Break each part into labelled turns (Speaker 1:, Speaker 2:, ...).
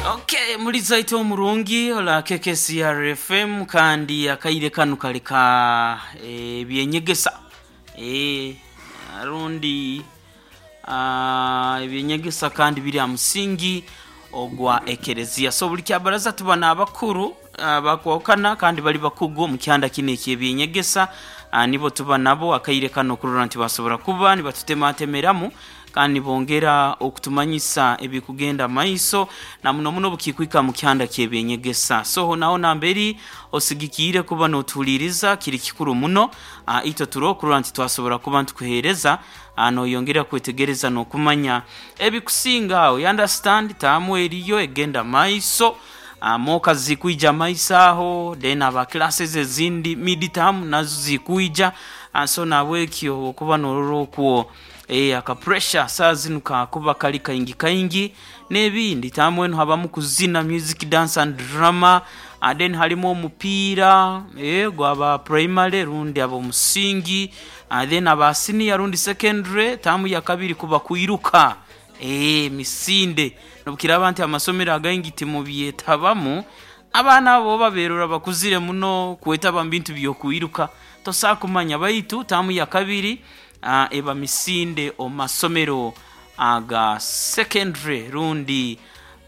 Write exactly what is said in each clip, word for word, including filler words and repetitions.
Speaker 1: Okay, mulizaito omurungi ola K K C R F M, kandi akaire kanu kali ka ebyenyegesa e, rundi ah, ebyenyegesa kandi biri aha musingi ogwa ekereziya. So buli kyabaraza tuba n'abakuru ah, bakwokana kandi bali bakugu omu kyanda kino ekyebyenyegesa. ah, nibo tuba nabo akaire kano okurora nti basobora kuba nibatutematemeramu kandi nibongera okutumanyisa ebikugenda maiso, na muno muno bukikwika mu kyanda kyebyenyegesa. So naho namberi osigikiire kuba notuhuliriza, kiri kikuru muno. uh, itwe turi okurora nti twasobora kuba ntukuheereza uh, noyongera kwetegereza n'okumanya ebikusinga aho. You understand, taamu eriyo egenda maiso, uh, moka zikwija maiso aho, then aba classes ezindi mid term nazo zikwija. uh, so nabwekyo okuba norora okwo eh, aka pressure saa zinu kakuba kali kaingi kaingi n'ebindi. Taamu enu habamu kuzina, music, dance and drama, uh, then halimu omupiira eh, gwaba primary rundi ab'omusingi, uh, then aba senior rundi secondary, taamu ya kabiri kuba kwiruka eh, misinde. Nobukiraaba nti amasomero againgi timubyetabamu, abaana abo baberora bakuzire muno kwetaba mu bintu by'okwiruka, tosobola kumanya. Baitu taamu ya kabiri uh, eba misinde omu masomero aga secondary rundi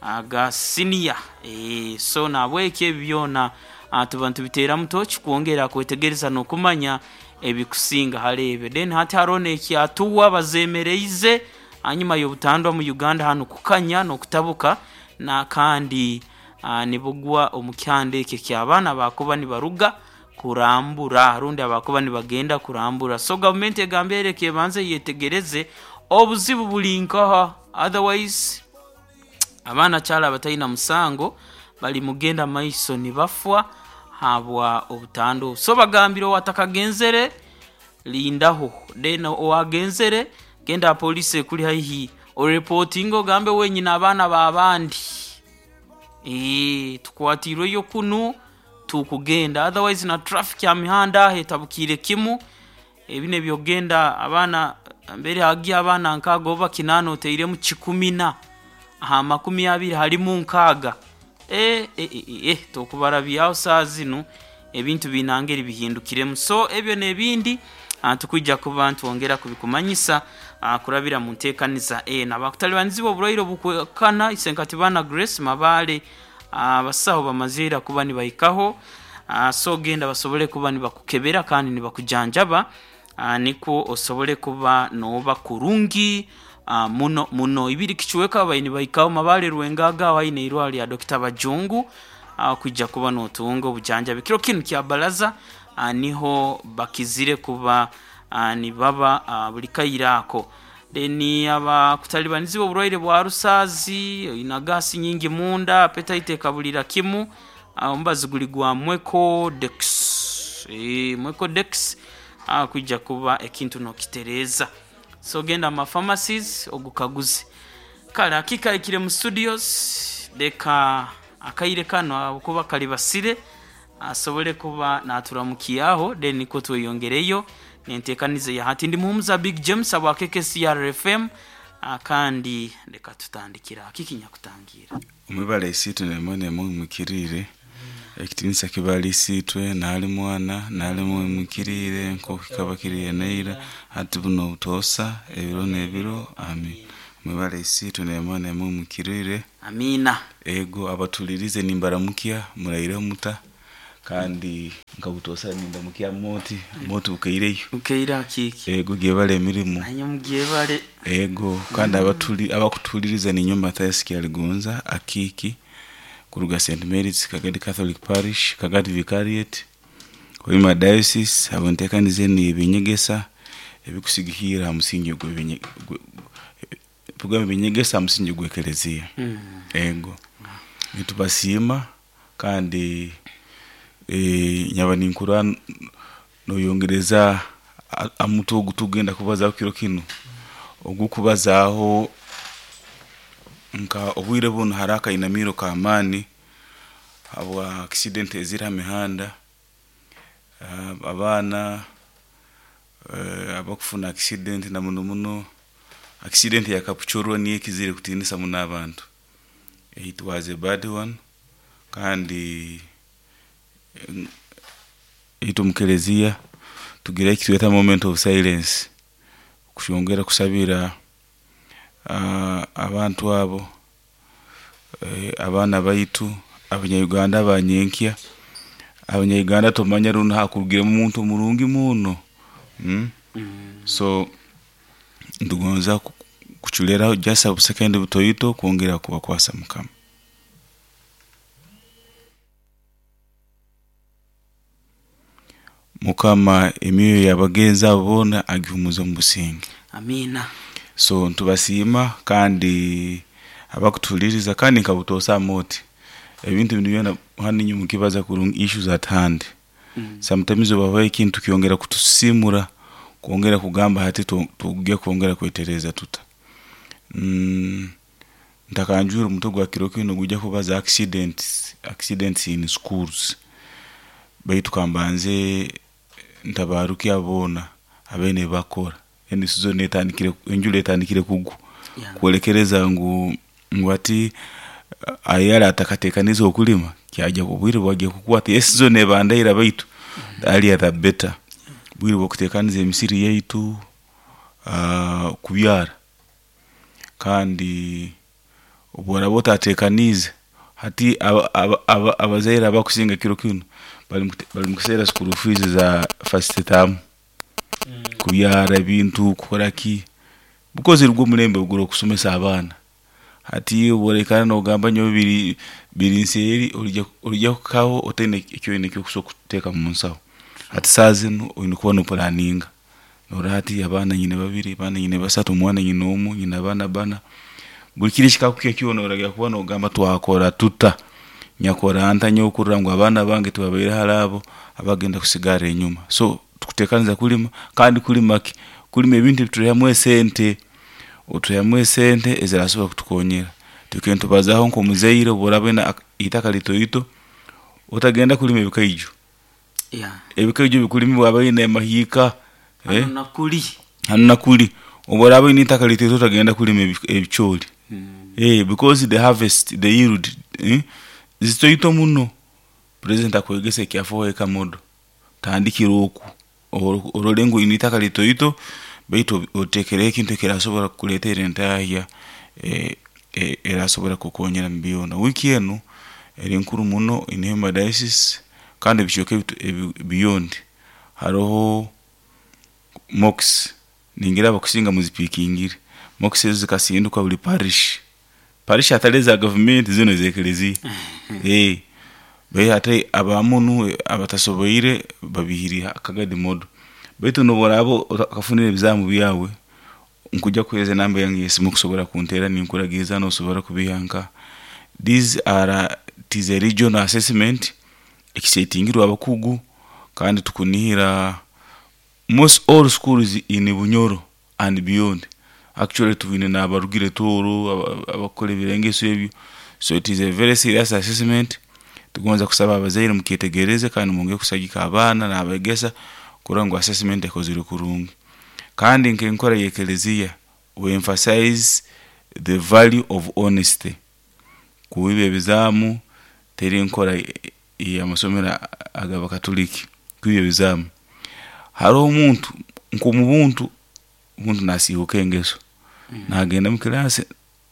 Speaker 1: aga senior. e, so nabwekyo ebi byona uh, tuba nitubiteeramu toki kwongera kwetegereza n'okumanya ebikusinga hali ebyo. Then hati haroho n'ekyatuwa bazemereize hanyuma y'obutandwa mu Uganda hanu kukanya n'okutabuka, na kandi uh, nibugwa omu kyanda ekyo eky'abaana bakuba nibaruga kurambura rundi abakuba nibagenda kurambura. So gavumenti egamba ereka ebanze yetegereze obuzibu buli nkaha, otherwise abaana kyali abatalina musango bali mugenda maiso nibafwa habwa obutandwa obu. So bagambire owatakagenzere lindaho, then owagenzere genda aha polisi ekuli haihi orepotinge, ogambe wenyine abaana b'abandi ee tukwatirweyo kunu tukugenda. Otherwise na traffic ha mihanda aho etabukiire kimu. Ebi nebyokugenda abaana mbere hagiya abaana nkaaga oba kinaana, oteiremu kikumi na aha makumi abiri halimu nkaaga, e, e, e, e, tokubarabyaho. Saa zinu ebintu biinangeri bihindukiremu. So ebyo n'ebindi ah, tukwija kuba ntwongera kubikumanyisa ah, kurabira mu nteekaniza eno. Abakutalibanizibwa oburwaire obukwekana isenkatibana Grace Mabale, abasaho bamazeera kuba nibahikaho. ah, so genda basobole kuba nibakukebera kandi nibakujanjaba, ah, nikwo osobole kuba nooba kurungi ah, muno muno. Ibiri kichweka babaire nibahikaho Mabale Rwengaga aho haine irwaro lya Dokita Bajungu, ah, kwija kuba nootunga obujanjabi. Kiro kinu kya baraza ah, niho bakizire kuba ah, nibaba ah, buli kaire ako. Then abakutalibanizibwa oburwaire bwa rusaazi, oina gaasi nyingi munda, appetite ekabulira kimu, ah, omubazi guli gwa Mwecodex, e, Mwecodex ah, kwija kuba ekintu nokitereeza. So genda mu pharmacies ogukaguze. Kale hakika ikire mu studios, leka akaire kano ahabwokuba kali basire asobole kuba naturamukiaho, then nikwo tweyongereyo nenteekaniza ya hati. Ndi muhumuza Big James abwa K K C R F M, ah, kandi leka tutandikira kiki nyakutangira.
Speaker 2: Omwibale isiitwe nemwe nemwe mwimukiriire, ekitinisa kibali isiitwe naali mwana naali mwimukiriire, nk'oku kikaba kiri eneira, hati buno obutoosa, ebiro n'ebiro, ami. Mwibale isiitwe nemwe nemwe mwimukiriire.
Speaker 1: Amiina.
Speaker 2: Ego, abatulirize nimbaramukya, muraireho muta? Kandi nkabutoosa nindamukya moti moti, bukaireyo?
Speaker 1: Ukeire hakiki.
Speaker 2: Ego, gyebale emirimu.
Speaker 1: Nanye mugyebale.
Speaker 2: Ego, kandi abatuli abakutuliriza, ninyo Mathias Kyaligonza Akiiki kuruga Saint Mary's Kagadi Catholic Parish, Kagadi Vicariate, Hoima Diocese. Abo nteekaniza enu y'ebyenyegesa ebikusigikirra ha musingi gw'ebyenye tugamba ebyenyegesa ha musingi gw'ekereziya.
Speaker 1: mm.
Speaker 2: Ego, nitubasiima kandi eh, nyaba ninkurora noyongereza a- amutwe ogu tugenda kubazaho kiro kinu, ogukubazaaho nka obwire bunu hariho akainamiro k'amaani habwa accident eziri ha mihanda. Ah, abaana eh, abakufuna accident, na muno muno accident ya Kapchorwa niyo ekizire kutiinisa muno abantu. It was a bad one. Kandi eh, itwe mukelezia tugira ekitweta moment of silence kushongera kusabira uh, abantu abo, eh, abaana baitu, Abanyayuganda abanyenkya. Abanyayuganda tomanya runo hakurugiremu omuntu murungi muno, mm?
Speaker 1: Mm.
Speaker 2: So ntugonza ku- kuchuleraho just obusekendi butoito kwongera kubakwasa Mukama. Mukama emyoyo y'abagenzi abo boona agihumuza omu businge.
Speaker 1: Amina.
Speaker 2: So ntubasiima kandi abakutuhuliriza, kandi nkabutoosa oti ebintu binu byona hanu inywe mukibaza kurungi issues at hand.
Speaker 1: Mm.
Speaker 2: Sometimes obaho ekintu kyongera kutusisimura, kwongera kugamba hati tu- tugye kwongera kwetereza tuta. mm, ntakanjura omutwe gwa kiro kinu gujja kubaza accidents, accidents in schools. Baitu kambanze ntabaruki aboona abeene bakora eni season etandikire, enjura etandikire kugwa,
Speaker 1: Yeah.
Speaker 2: kwolekereza ngu ngu ati ayala atakatekaniza okulima kyajja obwire bwajja kukwata esizoni ebandaira, baitu earlier the better. Bwire bwokutekaniza emisiri yaitu, uh, kubyara. Kandi obworaba otatekaniize hati aba- aba- aba- abazaire abakusinga kiro kinu bali mukute- bali mukuseera school fees za first term, kubyara ebintu, kukora ki, because rugwo omulembe ogura okusomesa abaana. Hati obworekana nogamba nyowe biri biri nseeri, olijja olijja kukaho otaine ekyoine ekyokusobola kuteeka mu nsaho. Hati saaha zinu oine kuba nopulaninga norora hati abaana nyine babiri, abaana nyine basatu, omwana nyine omu, nyine abaana bana, buli kiri ekikakukya kyona oragira kuba nogamba twakora tuta, nyakora nta nyowe kurora ngu abaana bange tibabaire hali abo abagenda kusigara enyuma. So tukutekaniza kulima, kandi kulima ki? Kulima ebintu ebiturehamu esente, oturehamu esente ezirasobora kutukonyera. Tukende tubazaho nk'omuzaire, obworaba oine ak- itaka litoito otagenda kulima ebikaijo.
Speaker 1: Yeah.
Speaker 2: Ebikaijo bikulimibwa abaine amahiika, eh?
Speaker 1: Hano nakuli.
Speaker 2: Hanu nakuli obworaba oine itaka litoito otagenda kulima ebi- ebicooli.
Speaker 1: Mm.
Speaker 2: Eh, because the harvest, the yield, eh, zitoito muno. President akwegesa ekyafoho ekamodo tandikira oku Oro- orole ngu oine itaka litoito, baitu otekereho ekintu ekirasobora kukuleetera entahya, eh, eh, erasobora kukukonyera mu byona. Wiiki enu eri nkuru muno in Hoima diocese kandi ebicweka ebitu- ebi- beyond. Haroho mox ningira abakusinga muzipikingire mox ezo zikasinduka buli parish, parish atali eza gavumenti, zino ez'ekelezia. Eh, bai ate abamunu abatasoboire babihiri akagadi modo. Baitu noboraba okafunire ebizamu byawe, nkujja kuheereza enamba yange y'esimu kusobora kunteera ninkuragiza nosobora kubiha nka. These are it is a regional assessment ekisetingirwe abakugu, kandi tukunihira most all schools in Bunyoro and beyond. Actually tubine n'abarugire Tooro, aba- abakora ebirengeso ebyo. So it is a very serious assessment. Tugonza kusaba abazaire mukyetegereze kandi mwongere kusagika abaana n'abegesa kurora ngu assessment ekozirwe kurungi. Kandi nk'enkora y'ekelezia, we emphasize the value of honesty. Kuiba ebizaamu teri nkora y'amasomero ag'abakatuliki kuiba ebizaamu. Haroho omuntu nk'omubuntu omuntu nasiihuka engeso, nagenda mu kirasi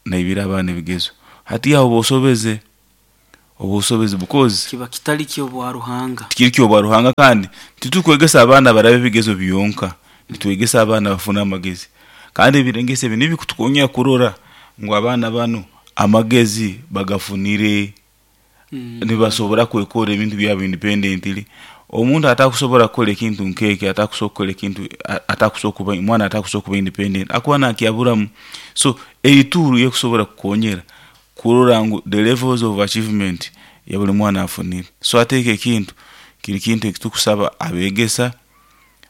Speaker 2: naibira abaana ebigezo. Hati aho oba osobeze, oba osobeze because
Speaker 1: kiba kitali kyobwa Ruhanga.
Speaker 2: Tikiri kyobwa Ruhanga, kandi titukwegesa abaana barabe ebigezo byonka, nitwegesa abaana bafune amagezi. Kandi ebirengeso ebi nibikutukonyera kurora ngu abaana banu amagezi bagafunire,
Speaker 1: Mm.
Speaker 2: nibasobora kwekora ebintu byabo independently. Omuntu atakusobora kukora ekintu nkeki, atakusobora kukora ekintu, a- atakusobora kuba mwana, atakusobora kuba independent, akuba nakyaburamu. So eituru yekusobora kukonyera kurora ngu the levels of achievement ya buli mwana afunire. So ateeka ekintu kiri kintu ekitukusaba abegesa,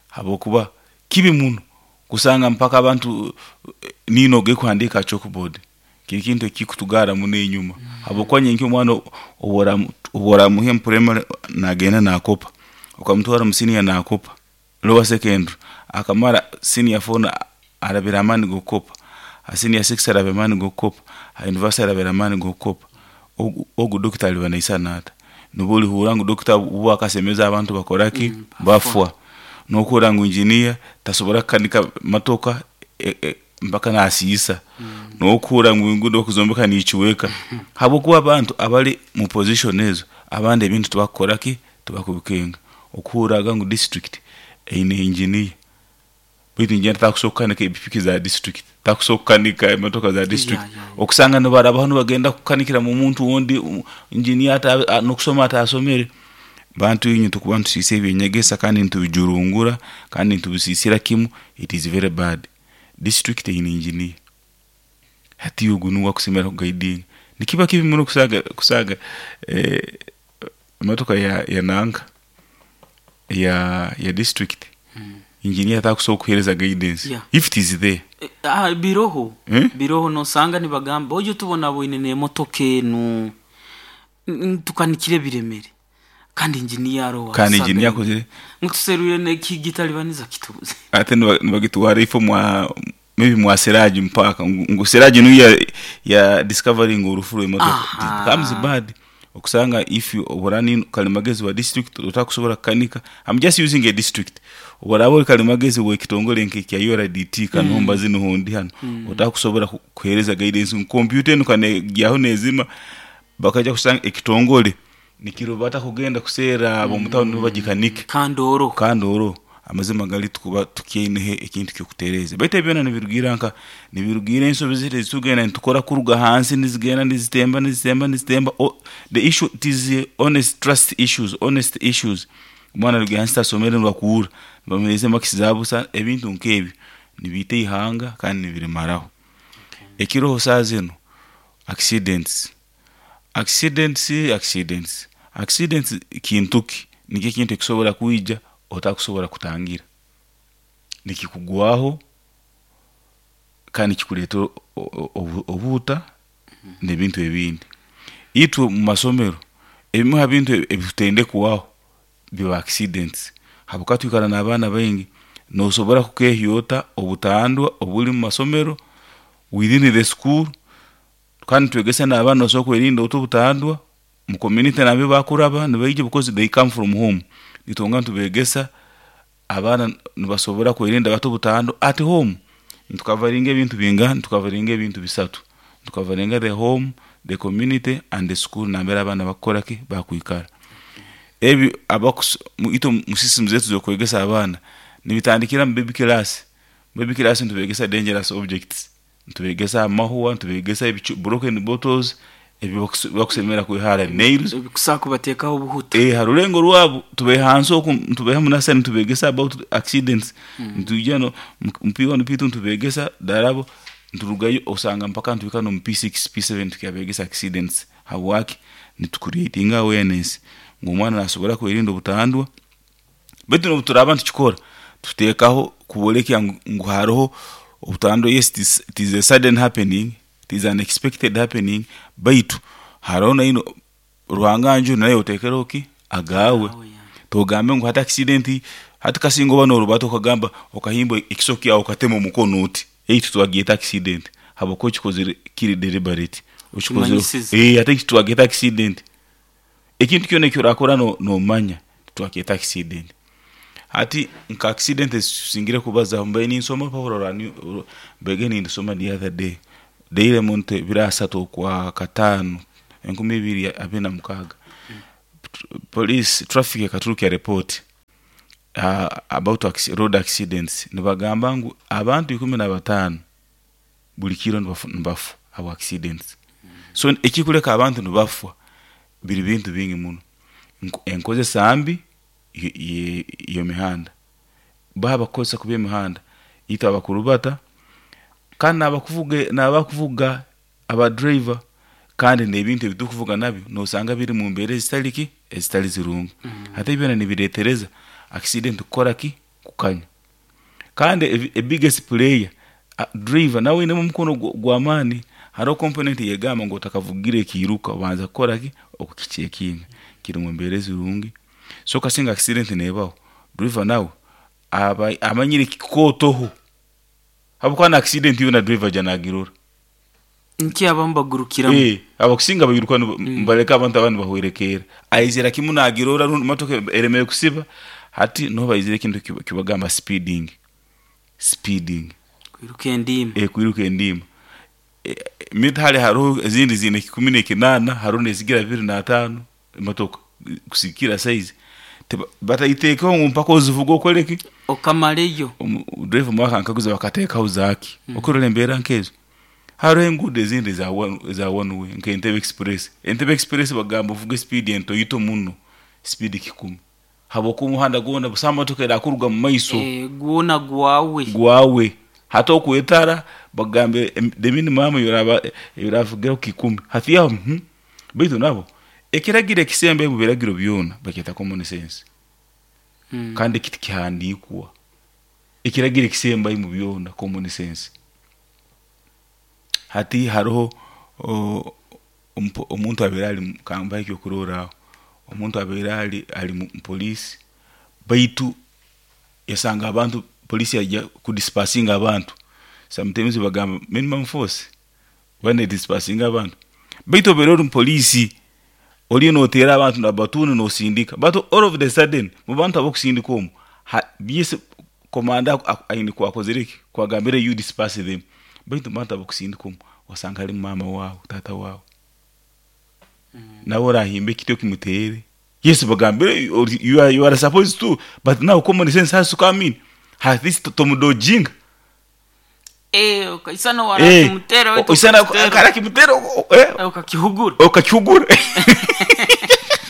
Speaker 2: habwokuba kibi muno kusanga mpaka abantu eh, nino gekuhandika chalkboard. Kiri kintu ekikutugara muno enyuma, habwokuba nyenki omwana obworamuha mu primary nagenda nakopa, okamutwara mu senior nakopa, lower secondary akamara senior four na- arabira amaani g'okukopa, ha senior six arabira amaani g'okukopa, ha university arabira amaani g'okukopa. Ogu, ogu dokita aliba naisana ata? Nubo olihurra ngu dokita ubu akasemeza abantu bakoraki?
Speaker 1: Mm,
Speaker 2: Bafwa. Nokuhurra ngu engineer tasobora kukanika motoka e, e, mpaka nasiisa. Nokuhurra ngu enguudo okuzombeka nikiweka, habwokuba abantu abali mu position ezo abandi ebintu tibakukoraki, tibakubikenga. Okuhurraga ngu district eine engineer, baitu engineer takusobola kukanika epikipiki za district, takusobola kukanika emotoka za district.
Speaker 1: Yeah, yeah, yeah.
Speaker 2: Okusanga nibarabaho nibagenda kukanikira mu muntu wundi engineer ata n'okusoma atasomere. Bantu inywe tukuba nitusiisa ebyenyegesa kandi nitubijurungura kandi nitubisiisira kimu. It is very bad. District eine engineer, hati ogu nuwe akusemera kuguidinga. Nikiba kibi muno kusaga kusaga eh, emotoka ya, ya nanka ya ya district,
Speaker 1: Mm.
Speaker 2: engineer atakusobola kuhereza guidance.
Speaker 1: Yeah.
Speaker 2: If it is there.
Speaker 1: Eh, ah, biroho.
Speaker 2: Eh?
Speaker 1: Biroho, nosanga nibagamba ojo tubona bwine n'emotoka enu. N- tukanikire biremere kandi engineer aroho.
Speaker 2: Kandi engineer akozire.
Speaker 1: Nkutuserwire nekigitalibaniza kitubuze.
Speaker 2: Ate niba- nibagitwara ifo mwa maybe mwa Siraji mpaka ngu ngu Siraji niyo ya, ya discovering orufu rw'emotoka.
Speaker 1: Aha.
Speaker 2: It becomes bad okusanga if you oburani kalimagezi wa district otakusobola kukanika. I'm just using a district. Oburaba ori kalimagezi w'ekitongole nk'ekya U R D T kanomba zino hondi hano, otakusobola ku- kuhereza guidance ngu computer enu kanegyaho nezima, bakaja kusanga ekitongole nikirubata kugenda kuseera ab'omutawuni nibo bagikanike.
Speaker 1: Kandi oroho.
Speaker 2: Kandi oro amazima gali tukuba tukyaineho ekintu kyokutereeza, baitu ebyona nibirugiira nka nibirugiira ensobi ziri ezitugenda nitukora kuruga hansi, nizigenda nizitemba, nizitemba, nizitemba. O, the issue, it is uh, honest trust issues, honest issues. Omwana aruga hansi tasomere, nibakuhurra nibamuhereza emakisi za busa. Ebintu nk'ebyo nibiita ihanga kandi nibirimaraho. Ekiroho saa zinu, accidents, accidents, accidents, accidents. Kintu ki nikyo ekintu ekisobola kwija otakusobola kutangira, nikikugwaho kandi kikuleetera o- o- obu- obuhuta n'ebintu ebindi. Itwe mu masomero ebimu ha bintu ebitutendekwaho biba accidents, habwokuba twikara n'abaana baingi. Nosobora kukehyota obutandwa obuli mu masomero within the school, kandi twegesa n'abaana osobola kwerinda ota obutandwa mu community nabyo bakuraba nibaija, because they come from home. Nitonga nitubegesa abaana nibasobora kwerinda bata obutandwa at home. Nitukavaringa ebintu bingaha? Nitukavaringa ebintu bisatu. Nitukavaringa the home, the community and the school nambere abaana bakukoraki, bakwikara. Ebi abakus mu- itwe mu system zetu zokwegesa abaana nibitandikira mu baby class. Mu baby class nitubegesa dangerous objects, nitubegesa amahwa, nitubegesa ebicu- broken bottles ebi bakusemera kwihara, nails.
Speaker 1: Ebikusaa kubateekaho obuhuta.
Speaker 2: Eh, ha rulengo rwabo tubeha hansi oku, ntubeha munasa, nitubegesa about accidents. Nitujja no mu P one P two nitubegesa darabo, nturugayo osanga mpaka ntubika no mu P six P seven tukyabegesa accidents. Habwaki? Nitucreatinga awareness ngu omwana nasobora kwerinda obutandwa. Baitu nobu turaba ntukikora, tuteekaho kubolekya ngu, ngu haroho obutandwa. Yes, it is, it is a sudden happening, it is an unexpected happening, baitu haroho naino Ruhanga nju naye otekereho ki agawe.
Speaker 1: Agawe, yeah.
Speaker 2: Togambe ngu hati accident hati kasinga oba norubata okagamba okahimba ekiso kyawe okatema omukono oti, eitu twagyeta accident habwokuba okikozere kiri deliberate, okikozere.
Speaker 1: Kimanyisize.
Speaker 2: Eh, ate eki twagyeta accident. Ekintu kyona ekyorakora no- nomanya twakyeta accident. Hati nka accident ezisingire kubazaho, mbaire ninsoma pawulo rwa mbege nindisoma the other day, Daily Monitor, ebiro asatu okwa kataano enkumi ibiri abiri na mukaaga. Police traffic ekaturukya report uh, about acci- road accidents. Nibagamba ngu abantu ikumi na bataano buli kiro nibafu, nibafa abo accidents. So ekikuleka abantu nibafwa biri bintu bingi muno. Nko- enkozesa mbi ye- ye- y'emihanda, baba bakukozesa kubi emihanda, itwe abakurubata kandi nabakuvuga nabakuvuga abadriver, kandi n'ebintu ebitukuvuga nabyo nosanga biri mu mbeera ezitali ki, ezitali zirungi. Ate byona nibireetereza accident kukora ki, kukanya. Kandi ebi- e biggest player, uh, driver nawe ainemu omukono gwa- gw'amaani. Hariho component yegamba ngu otakavugire ekiiruka obanza kukora ki, okukicheckinga kiri mu mbeera ezirungi. So kasinga accident nebaho, driver nawe aba amanyire kikootoho, habwokuba na accident yona driver aja nagirora.
Speaker 1: Nki abamu bagurukiramu.
Speaker 2: Eh, abakusinga bayiruka mbaleka abantu abandi bahwerekeera, aizira kimu nagirora rundi motoka eremere kusiba. Hati niho baizire ekintu kiba- kibagamba speeding speeding
Speaker 1: Kwiruka endiima.
Speaker 2: Eh, kwiruka endiima. Eh, mitale hariho ezindi ziine kikumi n'ekinaana, hariho nezigira bibiri n'ataano emotoka kusikira size. Teba- batayiteekaho ngu mpaka ozivuga okoleki.
Speaker 1: Okamaleyo.
Speaker 2: Driver mwaka nkaguza bakateekaho zaaki okurora embeera nkezo. Hariho enguudo ezindi za one- za one way nka Entebbe Express. Entebbe Express bagamba ovuge speed entoito muno, speed kikumi, habwokuba omuhanda gwona busaho motoka erakuruga mu maiso.
Speaker 1: Eh, gwona gwawe.
Speaker 2: Gwawe. Hati okwetara bagambe em- the minimum yoraba yoravugaho kikumi hati aho. mhm. baitu nabo ekiragiro ekisembe mu biragiro byona bakyeta common sense.
Speaker 1: Mm.
Speaker 2: Kandi ekiti kihandikwa ekiragiro ekisembayo mu byona, common sense. Hati hariho o, ompo- omuntu abeera ali mu- kambaho ekyokurorraho, omuntu abeera ali ali mu poliisi, baitu yasanga abantu, polisi yajja kudispersinga abantu. Sometimes bagamba minimum force bane dispersinga abantu, baitu obeera ori mupoliisi oliyo noteera abantu nabatuni nosindika, but all of the sudden mu bantu abokusindika omu ha- byese komanda aine kwakozere ki kwagambire you disperse them, baitu mu bantu abokusindika omu wasanga halimu maama wawe, tata wawe, nawe orahimba ekiti okimuteere. Yes, bagambire or- you are, you are supposed to, but now common sense has to come in. At least tomudojinga.
Speaker 1: Eh, okaisana
Speaker 2: Eh,
Speaker 1: warakimutera wetu.
Speaker 2: oisana
Speaker 1: ukakitera.
Speaker 2: karakimutera eh,
Speaker 1: Eh, ukakihugura.
Speaker 2: Okakihugura.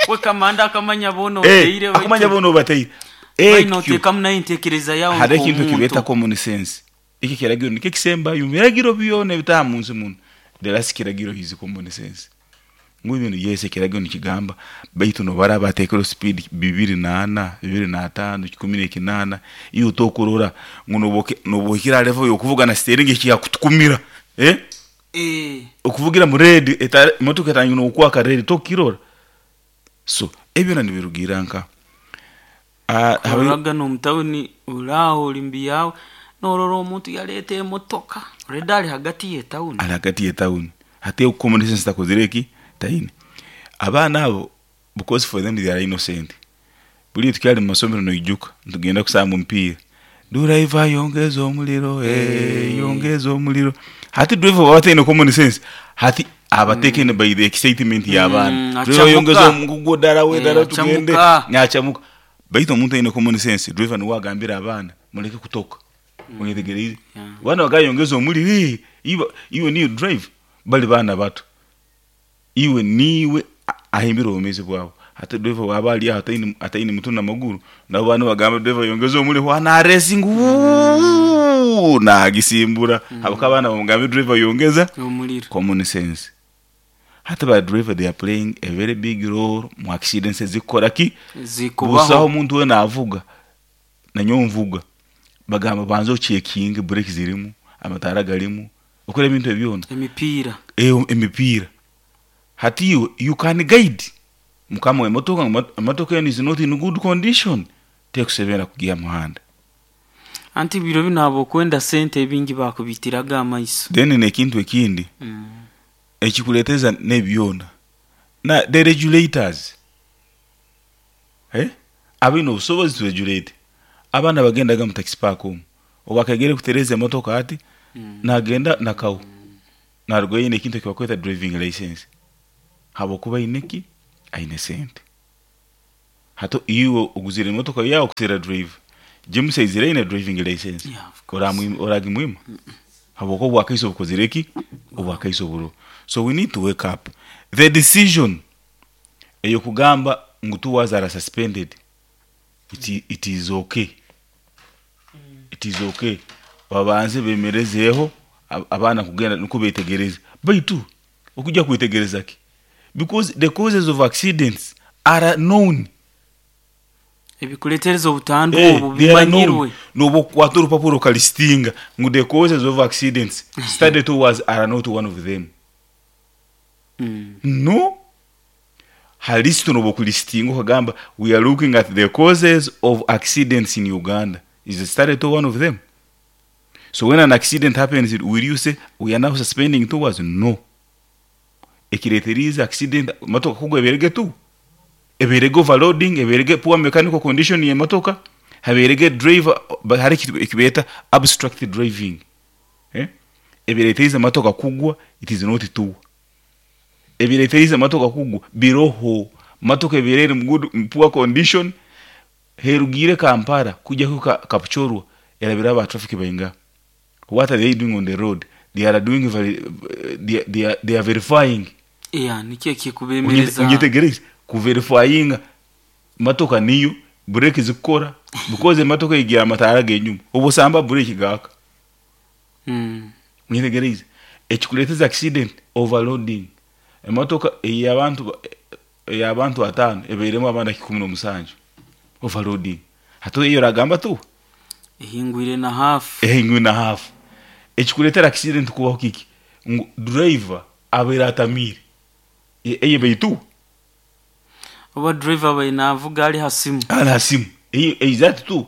Speaker 1: We kamanda akamanya boona
Speaker 2: Eh,
Speaker 1: oteire.
Speaker 2: akumanya boona obateire.
Speaker 1: Ekyo
Speaker 2: Ekyo
Speaker 1: nayo entekereza yawe
Speaker 2: hari ekintu
Speaker 1: nk'omuntu.
Speaker 2: kibeeta common sense. Iki kiragiro nikyo kisembayo mu biragiro byona ebitaha mu nsi muno. The last kiragiro is common sense, ngu ibintu yese ekiragiro nikigamba, baitu nobara bateekero speed bibiri naana, bibiri n'ataano, kikumi n'ekinaana, iwe tokurora ngu noboke- nobohikira level yokuvuga na steering ekiyakutukumira, eh?
Speaker 1: Eh,
Speaker 2: Okuvugira mu red, eta- emotoka etangira nokwaka red, tokirora. So ebyo nibirugira nka Ah, habe-
Speaker 1: ororaga n'omutawuni oraaho ori mbi yawe norora omuntu yaleeta emotoka redi ali hagati y'etawuni.
Speaker 2: Ali hagati y'etawuni. Hati common sense takozire eki taine abaana abo, because for them they are innocent. Buli tukyali mu masomero noijuka ntugenda kusamba omupiira, driver yongeza omuliro, eh, yongeza omuliro. Hati driver baba taine common sense, hati abatekene by the excitement y'abaana.
Speaker 1: Mm,
Speaker 2: Driver
Speaker 1: achamuka.
Speaker 2: yongeza omugugu ddala we
Speaker 1: Eh,
Speaker 2: ddala tugende.
Speaker 1: achamuka.
Speaker 2: Nyachamuka, baitu omuntu aine common sense, driver niwe agambira abaana muleke kutoka, onyetegereize?
Speaker 1: Yeah.
Speaker 2: Bana bagayongeza omuliro, eh, iwe iwe niyo drive bali baana bato, iwe niwe a- ahimbira obumezi bwabo. Hati driver waba ali aho ataine ataine mutu namaguru, nabo bana bagamba driver yongeza omuliro, wana racing nagisimbura habaka abaana bamugambe driver yongeza
Speaker 1: omuliro.
Speaker 2: Common sense. Hati ba driver, they are playing a very big role mu accidents ezikukora ki busaho.
Speaker 1: Zikubaho.
Speaker 2: Omuntu wena avuga nanyowe nvuga, bagamba banza ochekinge brake zirimu, amataara garimu, okora ebintu ebyona.
Speaker 1: Emipiira.
Speaker 2: Eyo emipiira. Hati iwe you can guide mukama w'emotoka ngu emotoka eno is not in good condition, tekusebera kugiya muhanda.
Speaker 1: Anti biro bino abokwenda sente ebingi bakubitiraga amaiso.
Speaker 2: Then nekintu ekindi
Speaker 1: Mm.
Speaker 2: ekikuleeteza n'ebyona na the regulators, eh? Abaine obusobozi to regulate abaana bagendaga mu taxi park omu obwakegere kutereza emotoka, ati
Speaker 1: Mm.
Speaker 2: nagenda nakawu naruga aine ekintu ekibakweta driving license, habwokuba aine ki aine sente. Hato iwe oguzire emotoka yawe kusera drive, James aizire aine driving license.
Speaker 1: Yeah, of course.
Speaker 2: Oramwima- oragimwima habwokuba obwakaiso bukozire ki obwakaiso buro. So we need to wake up. The decision eyokugamba ngu two hours are suspended, it, i- it is okay, it is okay. Babanze bemerezeeho ab- abaana kugenda nuko betegereze, baitu okujja kwetegereza ki, because the causes of accidents are known.
Speaker 1: Ebikuletereza obutandu
Speaker 2: Eh,
Speaker 1: obwo
Speaker 2: they are known.
Speaker 1: bimanyirwe.
Speaker 2: Noba okukwata orupapuro okalistinga ngu the causes of accidents, study tours are not one of them.
Speaker 1: Mm.
Speaker 2: No halisito noba okulistinga okagamba we are looking at the causes of accidents in Uganda, is the study tour one of them? So when an accident happens, will you say we are now suspending tours? No. Ekireeterize accident motoka kugwa eberege tu, eberege overloading, eberege poor mechanical condition y'emotoka, haberege driver ba- hari ekintu ekibeeta abstract driving, eh? Ebireeterize motoka kugwa, it is not tour. Ebireeterize motoka kugwa biroho motoka ebeere eri mu good mu poor condition, herugire Kampala kujya ku Kapchorwa erabira aba traffic bainga. What are they doing on the road? They are doing veri- they, they, are, they are verifying.
Speaker 1: Yeah, nikyo ekikubemereza.
Speaker 2: Unyetegereze kuverifyinga motoka niyo brake zikukora, because emotoka igira amataara g'enyuma obusamba brake gaka.
Speaker 1: Mm.
Speaker 2: Unyetegereze ekikuleeteza accident, overloading. Emotoka ey'abantu ey'abantu ataano ebeiremu abandi kikumi n'omusanju, overloading. Hati eyo oragamba tu
Speaker 1: ehingwire na hafu.
Speaker 2: Ehingwire na hafu. Ekikuleetera accident kubaho kiki? Ngu driver abeire atamiire. E- eyo beitu
Speaker 1: Oba driver abaire navuga ali ha simu.
Speaker 2: Ali ha simu, eyo exact tu.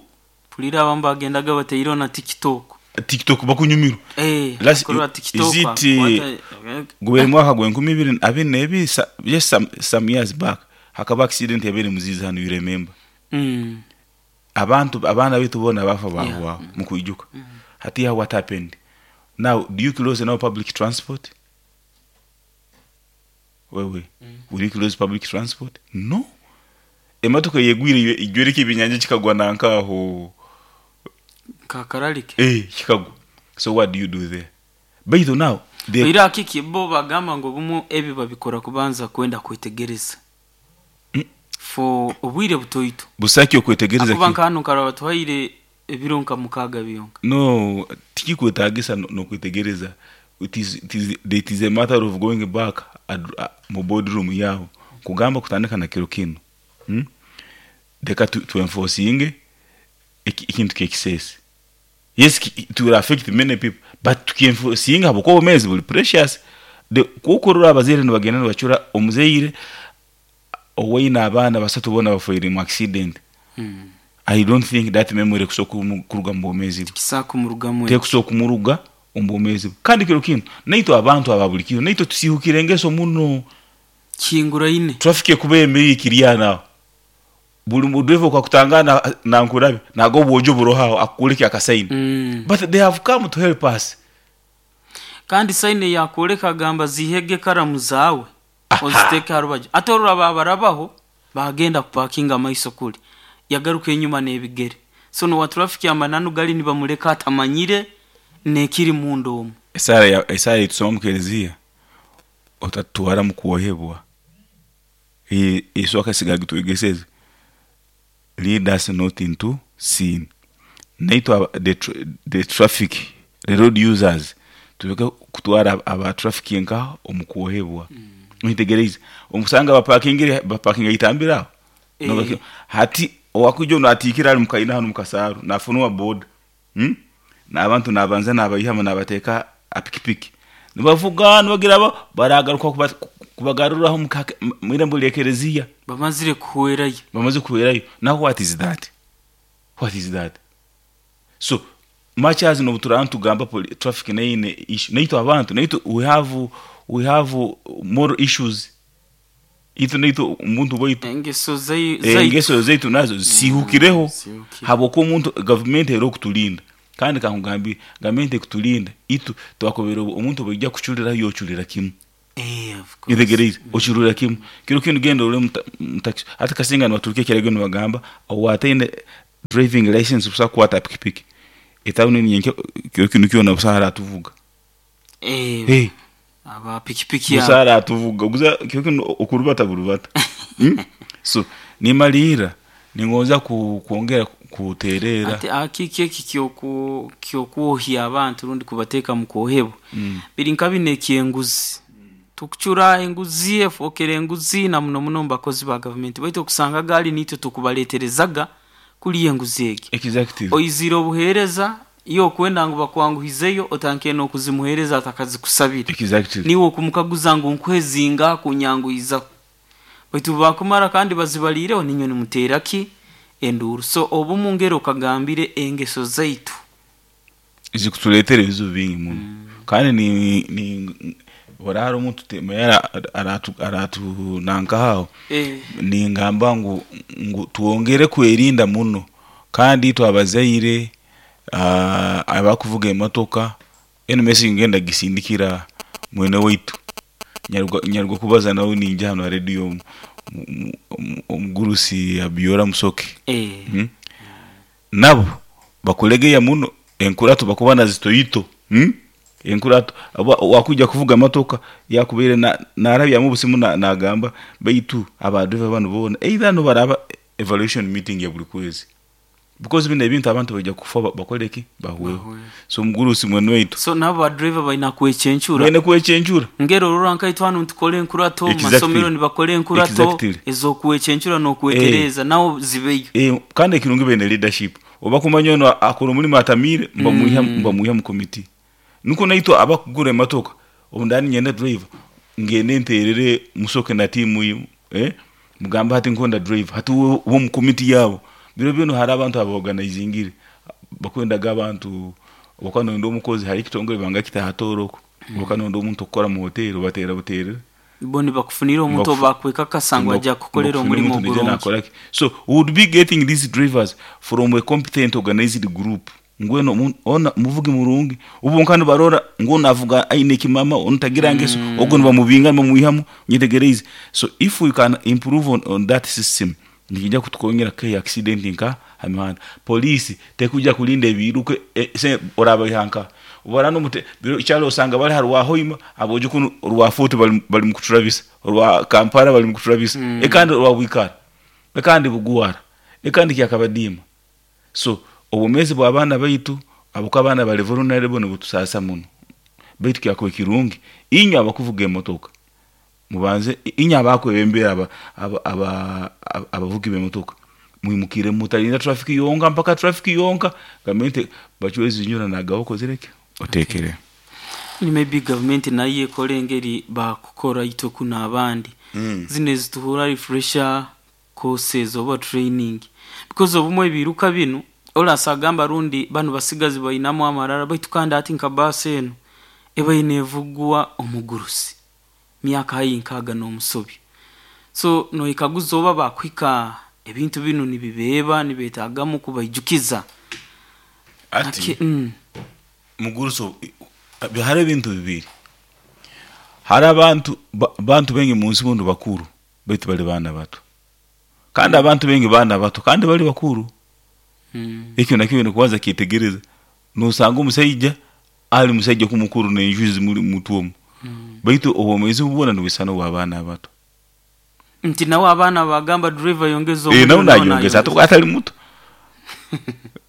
Speaker 1: Pulira abamu bagendaga bataireho na TikTok.
Speaker 2: TikTok bakunyumirwa.
Speaker 1: Eh,
Speaker 2: Last-
Speaker 1: kurora TikTok.
Speaker 2: Is it, eh, gubere mwaka gwa enkumi ibiri abiri n'ebiri, sa- just some, some years back hakaba accident yabeire muzizi hano, you remember?
Speaker 1: Mm.
Speaker 2: Abantu abaana baitu boona bafa
Speaker 1: Yeah.
Speaker 2: bahuwaho mukwijuka. Hati ya what happened now? Do you close now public transport? Wewe, will you close public transport? No. Emotoka yegwire ijwereka ebinyanja kikagwa nankaho.
Speaker 1: Kakaralike.
Speaker 2: Eh, kikagwa. So what do you do there? Baitu now the
Speaker 1: Era kiki bo bagamba ngu obumu ebi babikora kubanza kwenda kwetegereza
Speaker 2: Mm.
Speaker 1: for obwire butoito.
Speaker 2: Busaki okwetegereza
Speaker 1: Akuba
Speaker 2: ki?
Speaker 1: nka hano nkaraba batuhaire ebiro nka mukaaga byonka.
Speaker 2: No, tikikwetagisa no- nokwetegereza. it is, it is, it is a matter of going back ad, uh, mu boardroom yaho kugamba kutandika na kiro kino, hmm? Leka tu, tu enforcinge eki- ekintu kyekisese. Yes, ki- it will affect many people, but tukienforcinga habwokuba obumezi buli precious. The- kukurora abazaire nibagenda nibacura omuzaire owaine abaana basatu boona bafaire mu accident.
Speaker 1: Mm.
Speaker 2: I don't think that memory kusobola kumu- kuruga mu bwomezi bwe.
Speaker 1: Kisaako murugamu.
Speaker 2: Tekusobola kumuruga omu bwomezi bwe. Kandi kiro kino naitwe abantu aba buli kiro naitwe tusihukire engeso muno.
Speaker 1: Kinguraine.
Speaker 2: Traffic ekuba emiri ikirya buli mudriver okakutangana nankurabe nago obwojo burohaho akukuleke akasaini.
Speaker 1: Mm.
Speaker 2: But they have come to help us.
Speaker 1: Kandi sayine yakwoleka agamba zihege karamu zaawe oziteeke ha rubaju, ate oruraba barabaho bagenda kupakinga amaiso kuli yagaruka enyuma n'ebigere. So nowa traffic amananu gali nibamuleka atamanyire nekiri munda omu.
Speaker 2: Esaara ya- esaara etusoma mu kereziya, otatutwara mu kwohebwa. E- yesu akasiga gitwegeseze, lead us not into sin. Naitwe aba- the, tra- the traffic, the road users, tuleke kutwara aba traffic nka omu kwohebwa. Nitegereze omusanga bapakingire bapakinga itambira aho.
Speaker 1: Eh.
Speaker 2: Nobaki- hati owakuja ono atiikira ali mukaina hano mukasaaru nafunwa boda, hmm? N'abantu nabanza nabayihama nabateeka apikipiki nibavuga nibagira ba baragaruka kuba- kubagaruraho mukake- m- mwirembo lya kereziya.
Speaker 1: Bamazire kuhwerayo.
Speaker 2: Bamaze kuhwerayo. Now what is that? What is that? So much as nobuturaba tugamba poli- traffic naine issue, naitwe abantu naitwe we have we have more issues. Itwe naitwe omuntu bwaitu
Speaker 1: engeso zai-
Speaker 2: Eh,
Speaker 1: zaitu.
Speaker 2: engeso zaitu nazo zihukireho.
Speaker 1: Zihukire.
Speaker 2: Habwokuba omuntu gavumenti era okutulinda, kandi kankugambire gavumenti ekutulinda itu twakobera omuntu bwaija kucurira yoculira kimu.
Speaker 1: Eh, of course.
Speaker 2: Itegereze ocurira kimu kiro kinu genda ore mutaxi hati kasinga nibaturuka ekiragiro nibagamba owataine driving license busa kukwata pikipiki etawuni ninyenke kiro kinu kyona busa haratuvuga.
Speaker 1: Eh,
Speaker 2: hey.
Speaker 1: Aba pikipiki
Speaker 2: Busa
Speaker 1: abo.
Speaker 2: haratuvuga guza kiro kinu okurubata burubata, hmm? So nimalira ningonza ku, kwongera kuterera.
Speaker 1: Ate akiki eki kyoku kyokwohya abantu rundi kubateeka mu kwohebwa
Speaker 2: mm.
Speaker 1: biri nka bino ekyenguzi tukucura enguzi efookera enguzi na muno muno mu bakozi ba gavumenti, baitu okusanga gaali niitwe tukubaleeterezaga kuli enguzi egi.
Speaker 2: Exactly.
Speaker 1: Oizire obuheereza iyo okwenda ngu bakwanguhizeyo otanke n'okuzimuheereza atakazikusabire.
Speaker 2: Exactly.
Speaker 1: Niwe okumukaguza ngu nkwezinga kunyanguhiza, baitu bakumara kandi bazibaliireho ninywe nimuteera ki enduuru. So obumu ngero okagambire engeso zaitu.
Speaker 2: Zikutuleetera ebizibu bingi muno. Kandi ni ni orara omuntu temera aratu aratu nankaho
Speaker 1: Eh,
Speaker 2: ningamba ngu, ngu twongere kwerinda muno kandi itwe abazaire uh, abakuvuga emotoka eno message ngenda gisindikira mwene waitu nyaruga nyaruga kubaza nawe ninja hano ha radio omu- mu- mu- omugurusi Abiora Musoke.
Speaker 1: Eh,
Speaker 2: hmm? Nabo bakulegeya muno enkurato bakuba nazitoyito, hmm? Enkurato aba- wakuja kuvuga motoka yakubeire na narabyamu obusimu na- nagamba baitu abadriver bano bona either no baraba evaluation meeting ya buli kwezi because bino ebintu abantu bajja kufa ba- bakoleki bahweho.
Speaker 1: Bahweho.
Speaker 2: So omugurusi mwene waitu
Speaker 1: so nabo badriver balina kwekyencura.
Speaker 2: mwene kwekyencura.
Speaker 1: Ngero orora nkaitwe hanu ntukora enkurato mu
Speaker 2: Exactly.
Speaker 1: masomero nibakora enkurato
Speaker 2: Exactly.
Speaker 1: ez'okwekyencura n'okwetereza nawo zibeyo.
Speaker 2: Eh, kandi ekirungi bene leadership oba kumanya ono akora omulimu atamire mbamuiha mbamuiha mu committee nuko naitwe abakugura emotoka obundani nyenda driver ngende nterere Musoke na timu yimu eh mugamba hati nkonda driver hati wo wo mu committee yabo biro bino hari abantu abaorganizingire bakwendaga abantu bakanonda omukozi hari ekitongole banga kitahatoroko bakanonda omuntu okukora mu hoteli batera buterere.
Speaker 1: Bo nibakufunira omuntu
Speaker 2: Nibakufu-
Speaker 1: obakwekakasa ngu ajja kukolera omulimu
Speaker 2: omuntu
Speaker 1: ogurungi.
Speaker 2: nakolaki. So we would be getting these drivers from a competent organized group ngweno mu- ona muvugi murungi ubu nkano barora ngo navuga aine kimama ontagira ngeso mm. Ogo nibamubinga nibamwihamu nyitegereze. So if we can improve on, on that system nikijja kutukongera ke accident nka hamihanda polisi tekuja kulinda ebiruke e, se oraba ihanka ubara no mute biro cyalo usanga bari harwa hoima aboje kuno rwa foto bali bali mu kuturabisa rwa Kampala bali mu kuturabisa mm. Ekandi rwa Bwikara ekandi Buguwara ekandi Kyakabadima. So obumezi bw'abaana baitu abuko abaana bali vulnerable nibutusasa muno baitu kyakuba kirungi inywe abakuvuga emotoka mubanze inywe abakwebembera aba aba aba- aba- abavugi b'emotoka mwimukire mutalinda traffic yonka mpaka traffic yonka gavumenti bachwezi nyura nagaboko zireke otekere.
Speaker 1: Ni maybe gavumenti nayo ekora engeri bakukora itwe kuno abandi
Speaker 2: Mm.
Speaker 1: zino ezituhura refresher courses oba training because obumwe ebiruka binu orasa agamba rundi banu basigazi bainamu amarara baitu kandi ati nka baasi eno eba nevugwa omugurusi myaka hayi nkaaga n'omusobi so noikaguza oba bakwika ebintu binu nibibeeba nibetagamu kubaijukiza.
Speaker 2: Ati
Speaker 1: Ake- mm,
Speaker 2: muguruso hari ebintu bibiri hari abantu ba- bantu bengi munsi bundu bakuru baitu bali bana bato kandi abantu bengi bana bato kandi bali bakuru.
Speaker 1: Mm,
Speaker 2: ekyo nakyo nikubanza kitegereza nosanga omusaija ali musaija kumukuru nenjuzi muri mutwomu
Speaker 1: mm.
Speaker 2: baitu obwomezi bubona nibwisana obw'abaana abato.
Speaker 1: Nti nawe abaana bagamba driver yongeza
Speaker 2: Eh,
Speaker 1: omuliro,
Speaker 2: nawe
Speaker 1: nawe
Speaker 2: nayongeza
Speaker 1: nayongeza.
Speaker 2: ate atali muto.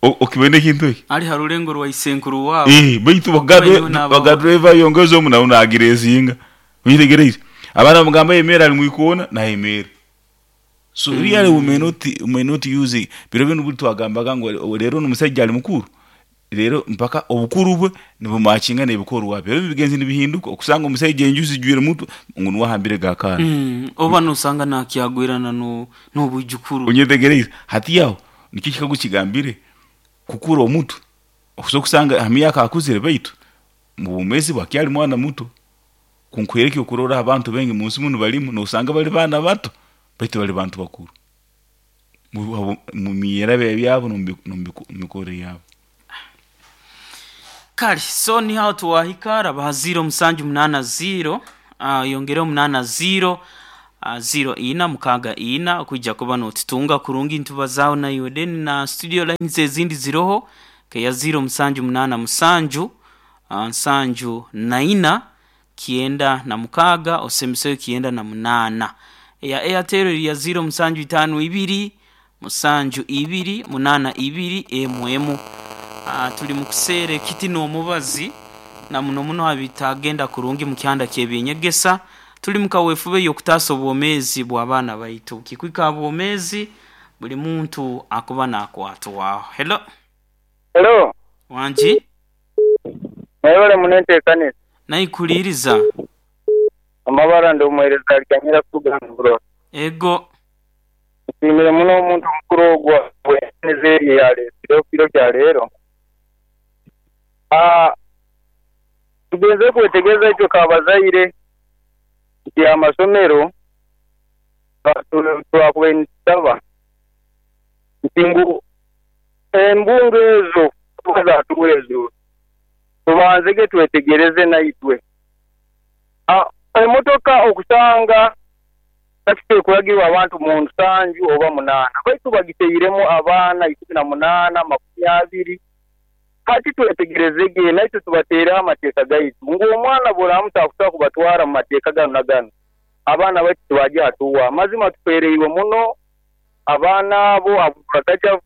Speaker 2: O- okibona ekintu ekyo
Speaker 1: ali ha rulengo rwa isenkuru wabo.
Speaker 2: Eh, baitu
Speaker 1: Wewe n'abaho.
Speaker 2: bagadriver yongeza omu nawe nagira ezinga onyetegereize abaana bamugamba yemera ali mwikoona nayemera. So mm. Really we may not, we may not use biro bino buli twagambaga ngu rero n'omusajja ali mukuru rero mpaka obukuru bwe nibumakinga n'ebikorwa bye rero bigenzi nibihinduka okusanga omusajja enju zijwire mutu ngu niwahambire gakaana.
Speaker 1: Mm, oba nosanga nakyagwirana no n'obwijukuru.
Speaker 2: Onyetegereize hati yaho nikyo kikagu kigambire kukura omutu okusobola okusanga ha myaka akuzire baitu mu bumezi bwakyali mwana muto kunkwereke okurora abantu bengi munsi muno balimu nosanga bali baana bato baitu bali bantu bakuru mu abo- mu myerabe byabo n'omu yabo.
Speaker 1: Kale so ni aho tuwahika raba ziro musanju munana ziro uh, yongere munana ziro uh, ziro ina mukaga ina okwijja kuba notutunga kurungi ntubazaaho naiwe then na studio lines ezindi ziroho keya ziro musanju munana musanju uh, nsanju naina kienda na mukaga osemiseyo kienda na munana eya Airtel eri ya ziro musanju itano ibiri musanju ibiri munana ibiri emu emu. Ah, tuli mu kuseera ekiti n'omubazi na muno muno habitagenda kurungi mu kyanda ky'ebyenyegesa tuli mu kaweefube y'okutaasa obwomeezi bw'abaana baitu kikwika bwomeezi buli muntu akuba nakwatwaho. Hello.
Speaker 3: Hello,
Speaker 1: wangi.
Speaker 3: mwebale munenteekanisa.
Speaker 1: Naikuliiriza.
Speaker 3: Amabara ndi omuweereza alikanyira kugambura.
Speaker 1: Ego.
Speaker 3: Nsiimire muno omuntu omukuru ogwo bweneza eri eyaleesire kiro kya leero. Ah, tugenze kwetegereza itwe kabazaire nti amasomero twakubaire nitusaba nti ngu embungo ezo kuba zatuura ezo tubanzege twetegereze naitwe. Ah, emotoka okusanga takite kuragirwa abantu mu nsanju oba munaana baitu bagiteiremu abaana ikumi na munaana makumi abiri. Hati twetegerezege naitwe tubateereho amateeka gaitu ngu omwana bw'oramuta kubatwara mu mateeka gano na gano abaana baitu tibajya hatuwa. Mazima tufereirwe muno abaana abo abakaja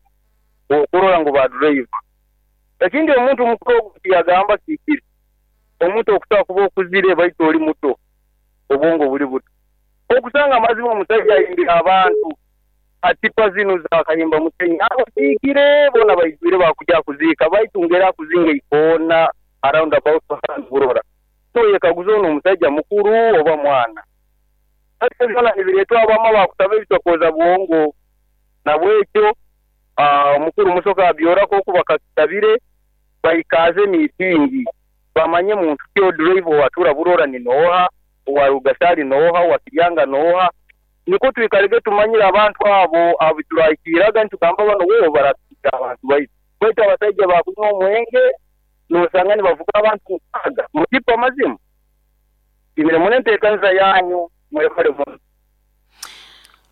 Speaker 3: okurora ngu ba driver. Ekindi omuntu mukuru ogu tiyagamba kikiri omuntu okusobola kuba okuzire baitu oli muto obwongo buli buto okusanga amazima omusajja ayimbira abantu atipa zino zakayimba musenyi abaziikire bona baijwire bakujja kuziika baitu ngera kuzinga ikoona around about burora so yekaguza ono omusajja mukuru oba mwana. Ate byona nibireetwa abamu bakusaba ebitokoza bwongo nabwekyo ah, omukuru musoka abyorako okuba kakitabire baikaze miitingi bamanye muntu ki odrive owatura burora ni noha owarugasari noha owakiryanga noha niko twikalege tumanyire abantu abo abituraikiraga nitugamba bano wewe baratuka abantu baitu baitu abasajja bakunywa omwenge nosanga nibavuga abantu mukaga mutipa mazima imirimo n'enteekaniza yanyu mwebale muno.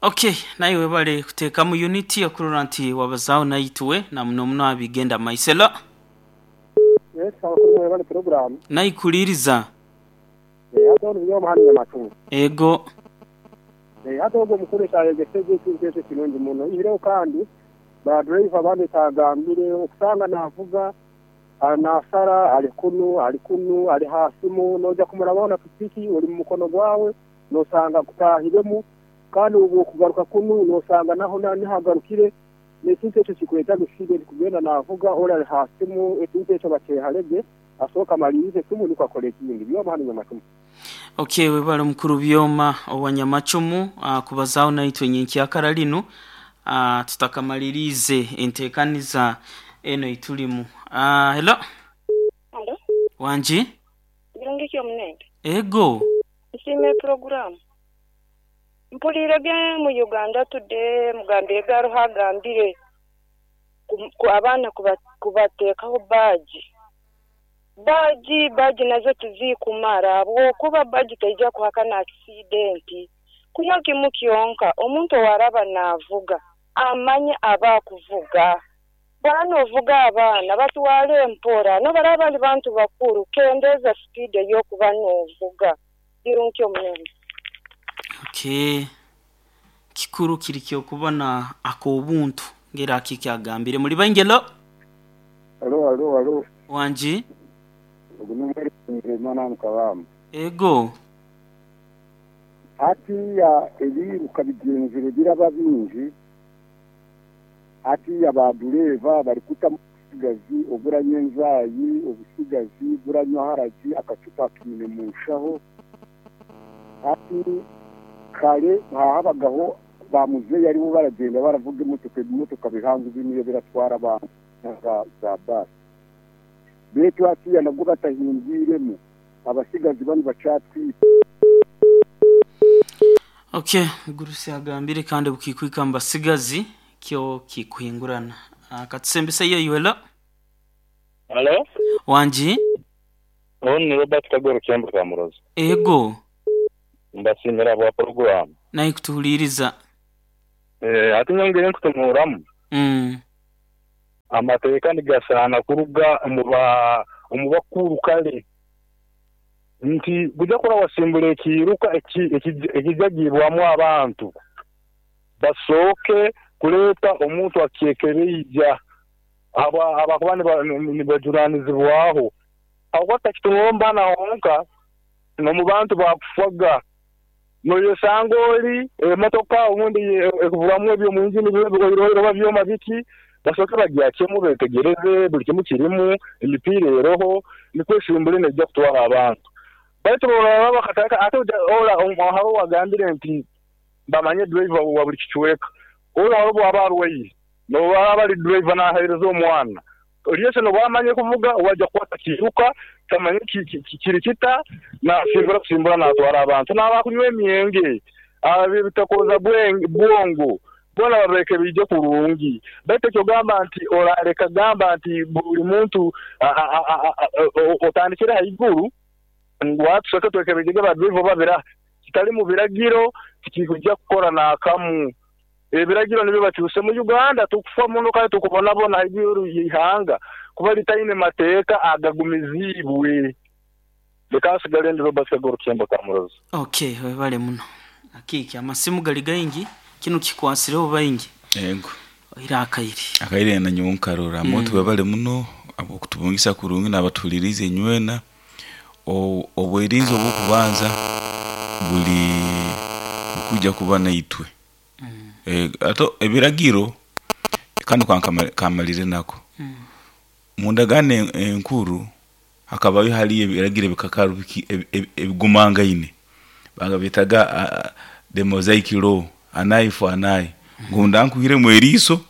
Speaker 1: Okay, naye webale kuteekamu unity okurora nti wabazaawo naitwe na muno muno abigenda maiselo.
Speaker 4: Yes, abakuru mwebale program.
Speaker 1: Naikuliriza.
Speaker 4: Eh, ate ono byoma hano nyamatu.
Speaker 1: Ego.
Speaker 4: Eh, ate ogwo mukuru kyayegeseze ekintu ekyo kirungi muno. Ihireho kandi ba driver bandi tagambire okusanga navuga anasara ali kunu ali kunu ali hasimu noja kumuraba na pikipiki oli mu mukono gwawe nosanga kutahiremu kandi ubu kugaruka kunu nosanga naho nihagarukire n'ekintu ekyo kikweta gusige kugenda navuga ora ali hasimu ekintu ekyo bateharege asoka malirize simu niko akora ekindi byoma hano nyamatumu.
Speaker 1: Okay, webale mukuru byoma owanyamacumu uh, kubazaawo naitwe nyenkyakara linu uh, tutakamalirize enteekaniza eno itulimu. Uh, hello.
Speaker 5: Hello.
Speaker 1: Wanji?
Speaker 5: Birungi kyo munene.
Speaker 1: Ego.
Speaker 5: Nsiime program. Mpulire ge mu Uganda today mugambire garuha gambire ku abaana kubateekaho baji. Baji baji nazo tuzikumara ahabwokuba baji teija kuhakana accident. Kunywa kimu kyonka omuntu owaraba naavuga amanye abakuvuga. Bano ovuga abaana batwale empora nobaraba bali bantu bakuru kendeza speed ey'okuba n'ovuga. Birungi omunene.
Speaker 1: Okay. Kikuru kiri kyokubona akobuntu ngera akikyagambire muri bangelo.
Speaker 4: Alo alo alo.
Speaker 1: Wanji?
Speaker 4: Ogu numeri mana mukabamba.
Speaker 1: Ego.
Speaker 4: Hatiya ebiruka bigenzire biraba bingi. Hatiya ba dureva bari kuta obusigazi oburanywa enzayi obusigazi buranywa haragi akacupa kimine mushaho. Hati kare habagaho ba muzeyi aribo baragenda baravuga imotoka imotoka bihangu biniyo biratwara abantu za za basi. Betu hatiya nabwo batahindwiremo abasigazi bano bacatwite.
Speaker 1: Okay, gurusi agambire kandi bukikwika mbasigazi kyo kikuhingurana. Akatusembesa iyo yuelo.
Speaker 6: Hello?
Speaker 1: Wanji?
Speaker 6: Ono ni Robert Kagoro Kyambu Kamurozi.
Speaker 1: Ego.
Speaker 6: Mbasimira bwa program.
Speaker 1: Naye kutuhuliriza.
Speaker 6: Eh, ati nyongere nkutumuramu.
Speaker 1: Mm.
Speaker 6: Amateeka nigasana kuruga omuba omubakuru kale. Nti gujja kora wasimbula ekiruka ekijagibwamu abantu. Basooke kuleeta omuntu akyekereija aba abakuba nibajuranizibwaho. Aho takitumomba na honka no mu bantu bakufaga. Noyosanga oli emotoka obundi ekuvuramu ebyo mu njini biroba byoma biki basooke bagyakemu betegereze buli kimu kirimu emipiira eroho nikwo esimbule nejja kutwara abantu. Baitu boraba bakataka ate ola haro wagambire nti bamanye driver wa buli kicweka. Ola haro bwaba arwaire noba bali driver nahereza omwana Lyese nobwamanye kuvuga wajja kukwata kiruka tamanye kiri kita nasimbura kusimbura natwara abantu n'abakunywa emyenge bitakoza bwongo bona babareke bijje kurungi baitu ekyogamba nti oraleka gamba nti buli muntu otandikire haiguru ngu atusoke twekebejege badrive babira kitali mu biragiro tikikujja kukora n'akamu ebiragiro nibyo bakyuse mu Uganda tukufa muno kandi tukubonabona haiguru y'ihanga kuba litaine mateeka agagumizibwe leka nsigale ndi Robert Kagoro Kyembo Kamurozi.
Speaker 1: Okay, webale muno. Akiki amasimu gali gaingi kino kikwasireho baingi.
Speaker 2: Yego.
Speaker 1: Ira akairi.
Speaker 2: Akairi na nyonkarora mm. Moto webale muno abokutubungisa kurungi nabatulirize nywena obwerinzi obukubanza buli kuja kuba naitwe. Mm. E, ato ebiragiro kano kankamalire nako. Mm. Mundagane enkuru hakabayo hali ebiragiro bikakaru ebigumangaine. Banga bitaga uh, the Mosaic law anayi for anayi. Ngunda nkuhire mu eriso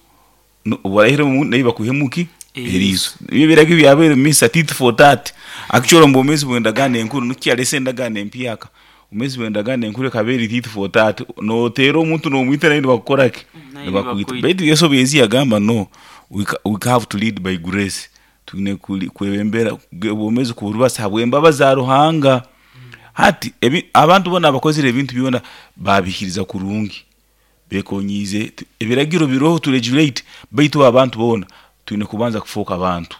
Speaker 2: obarahire mu nayi bakuhemuki eriso. Ibyo biragiro byabere misa tit for tat. Actually mbomezi bwendagane enkuru nukyalese ndagane empyaka. Umezi bwendagane enkuru kaberi tit for tat. No tero omuntu no mwita nayi bakukorake. Bakuita. Baitu Yesu byenzi yagamba no we, we have to lead by grace. Tugine kwebembera obomezi kurubasa habwembaba za Ruhanga. Hati ebi, abantu bona abakozire ebintu byona babikiriza kurungi bekonyize ebiragiro biroho to regulate baitu abantu bona tuine kubanza kufoka abantu.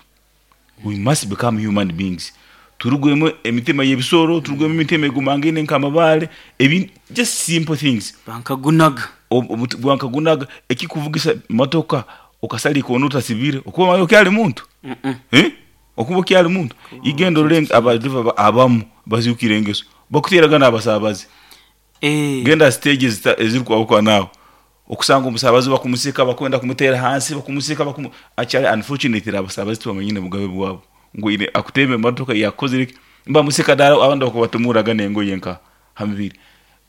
Speaker 2: We must become human beings. Turugwemo emitima y'ebisoro, turugwemo emitima egumangene nkamabale, ebi just simple things.
Speaker 1: Bankagunaga
Speaker 2: bankagunaga ekikuvugisa motoka okasali konuta sibire okuba mayo kyali muntu.
Speaker 1: Mm -mm.
Speaker 2: Eh? Okuba kyali muntu. Igendo leng abadiva abamu bazukire engeso bakuteragana abasabazi.
Speaker 1: Eh.
Speaker 2: Genda stages eziri kwa nawo okusanga omusabazi bakumusika bakwenda kumutera hansi bakumusika bakumu actually unfortunately abasabazi tubamanyine mugabe bwabo ngo ine akuteme motoka yakozire mba musika dara abandi bakubatumuraga nengo yenka hamibiri.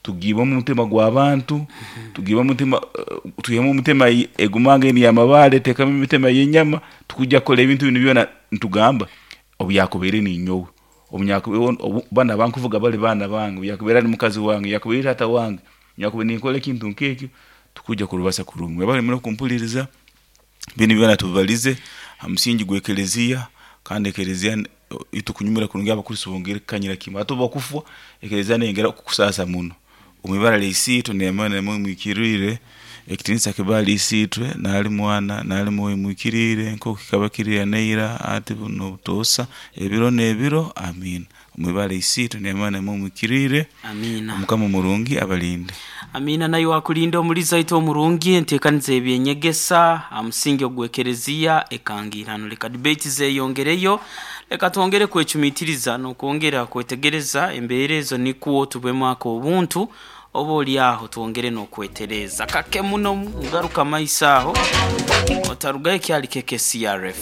Speaker 2: Tugiba mu mutima gw'abantu, tugiba mutima uh, tuhemu mutima egumange ni amabale tekamu imitima yenyama tukujja kola ebintu bino byona ntugamba obyakubere ni nyowe obunyakubere bana bankuvuga bali bana bange byakubera ni mukazi wange yakubera tata wange yakubera ni nkole kintu nkekyo tukujja kurubasa kurungi. Bali muno kumpuliriza bino byona tubalize amusingi gwekelezia kandi ekelezia itukunyumira kurungi abakristo bongere kanyira kimwe atoba kufwa ekelezia nengera kukusasa muno. Umibara leisitwe neemana nemwe mwikirire ekitinisa kibali isitwe nali mwana nali mwoyo mwikirire nko kikabakirira neira ati buno butosa ebiro nebiro amina. Umibara isitwe neemana nemwe mwikirire
Speaker 1: amina.
Speaker 2: Mukama murungi abalinde
Speaker 1: amina. Nayo wakulinda omuliza ito omurungi entekanize ebyenyegesa amusingi ogwekerezia ekangirano leka debate zeyongereyo leka twongere kwechumitiriza nokwongera kwetegereza embeere ezo nikuwo tubwemu ako obuntu oba oli aho twongere n'okwetereza kake muno ngaruka maiso aho otarugayo kyali K K C R F.